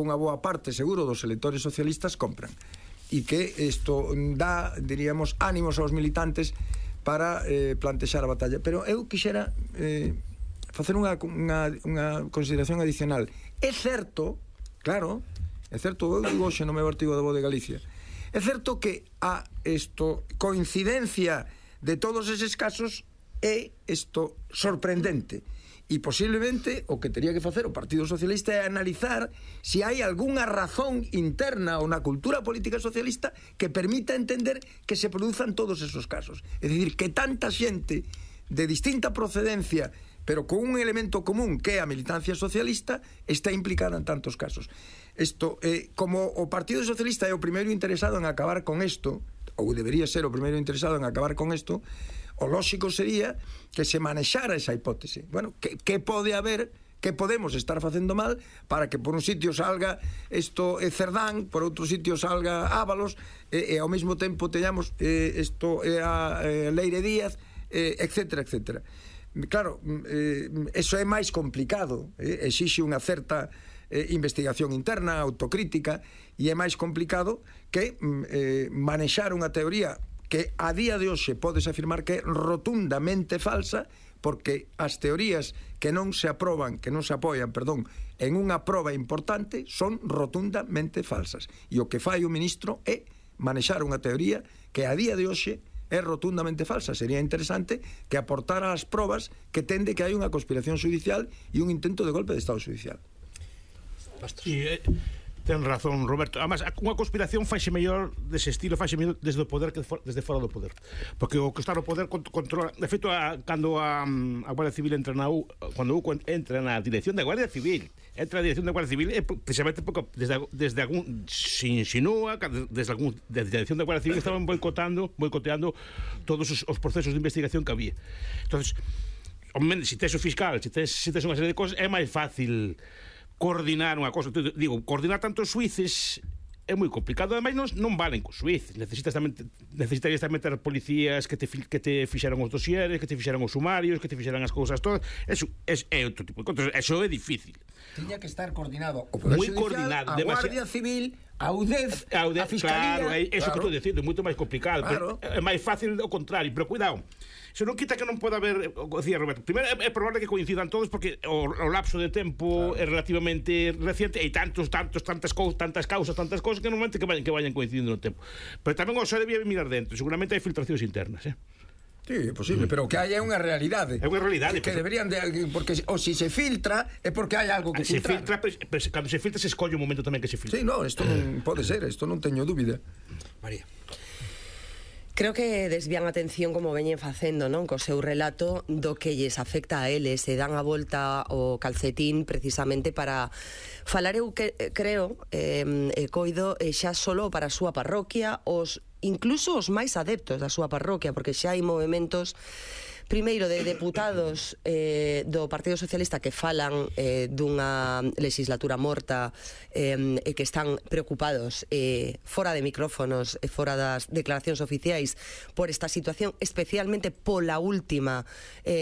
unha boa parte, seguro, dos electores socialistas compran. E que isto dá, diríamos, ánimos aos militantes para plantexar a batalla. Pero eu quixera facer unha consideración adicional. É certo, claro, é certo, eu digo hoxe no meu artigo da Voz de Galicia, é certo que a coincidencia de todos eses casos é isto sorprendente. E posiblemente o que teria que facer o Partido Socialista é analizar se hai algunha razón interna ou na cultura política socialista que permita entender que se produzan todos esos casos. É dicir, que tanta xente de distinta procedencia, pero con un elemento común que é a militancia socialista, está implicada en tantos casos. Isto, como o Partido Socialista é o primeiro interesado en acabar con isto, ou debería ser o primeiro interesado en acabar con isto, o lóxico sería que se manexara esa hipótese. Bueno, que pode haber, que podemos estar facendo mal para que por un sitio salga isto Cerdán, por outro sitio salga Ábalos, e ao mesmo tempo teñamos isto a Leire Díaz, etcétera, etcétera. Claro, eso é máis complicado, exixe unha certa investigación interna, autocrítica, e é máis complicado que manexar unha teoría que a día de hoxe podes afirmar que é rotundamente falsa, porque as teorías que non se aproban, que non se apoian, perdón, en unha proba importante son rotundamente falsas. E o que fai o ministro é manexar unha teoría que a día de hoxe é rotundamente falsa. Sería interesante que aportara as probas que tende que hai unha conspiración judicial e un intento de golpe de Estado judicial. Ten razón, Roberto. Además, unha conspiración faixe mellor dese estilo, faixe mellor desde o poder que desde fora do poder. Porque o que está no poder controla. De feito, cando a Guardia Civil entra cando entra na dirección da Guardia Civil, entra na dirección da Guardia Civil, precisamente porque desde algún se insinúa desde a dirección da Guardia Civil estaban boicoteando todos os procesos de investigación que había. Entonces, se tes o fiscal, se tes unha serie de cosas, é máis fácil coordinar unha cosa. Digo, coordinar tantos suíces é moi complicado. Ademais, non valen cos suíces. Necesitarías tamén ter policías que te fixeran os dosieres, que te fixeran os sumarios, que te fixeran as cousas todas. Eso é outro tipo de cosas. Eso é difícil. Tiña que estar coordinado o Poder Judicial, a Guardia Civil, a UDEF, a Fiscalía. Claro, eso que estou dicindo, é moito máis complicado. Claro. É máis fácil o contrario, pero cuidado. Eso non quita que non poda haber, decía Roberto, primeiro é probable que coincidan todos porque o lapso de tempo é relativamente reciente e tantas causas que normalmente que vayan coincidindo no tempo. Pero tamén o debía mirar dentro, seguramente hai filtracións internas, Sí, é posible, pero que hai unha realidade. É unha realidade. Que deberían de, porque o si se filtra é porque hai algo que filtrar. Cando se filtra se escolle o momento tamén que se filtra. Sí, no, isto non pode ser, isto non teño dúbida. María. Creo que desvían a atención como veñen facendo, non? Co seu relato do que lles afecta a eles, se dan a volta ao calcetín precisamente para falar, eu creo, coido xa solo para a súa parroquia, incluso os máis adeptos da súa parroquia, porque xa hai movementos primeiro de deputados do Partido Socialista que falan dunha legislatura morta e que están preocupados fora de micrófonos e fora das declaracións oficiais por esta situación, especialmente pola última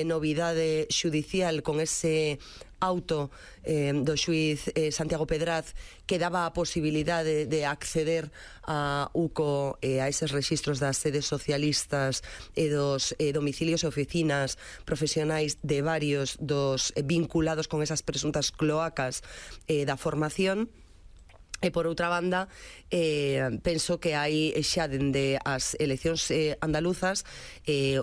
novidade xudicial con ese auto do xuiz Santiago Pedraz que daba a posibilidade de acceder a UCO e a eses rexistros das sedes socialistas e dos domicilios e oficinas profesionais de varios dos vinculados con esas presuntas cloacas da formación. E por outra banda, penso que hai xa dende as eleccións andaluzas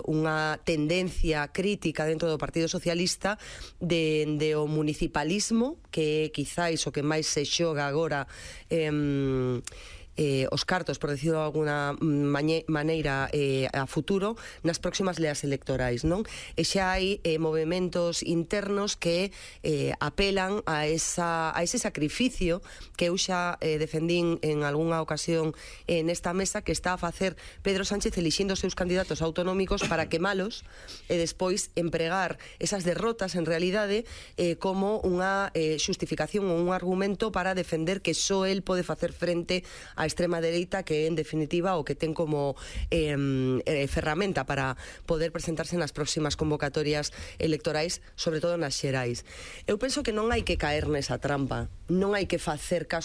unha tendencia crítica dentro do Partido Socialista dende o municipalismo, que quizáis o que máis se xoga agora os cartos, por decirlo de alguna maneira, a futuro nas próximas leas electorais, non? E xa hai movementos internos que apelan a ese sacrificio que eu xa defendín en algunha ocasión nesta mesa, que está a facer Pedro Sánchez elixindo os seus candidatos autonómicos para quemalos e despois empregar esas derrotas en realidade como unha xustificación ou un argumento para defender que só el pode facer frente a extrema dereita, que en definitiva o que ten como ferramenta para poder presentarse nas próximas convocatorias electorais, sobre todo nas xerais. Eu penso que non hai que caer nesa trampa, non hai que facer caso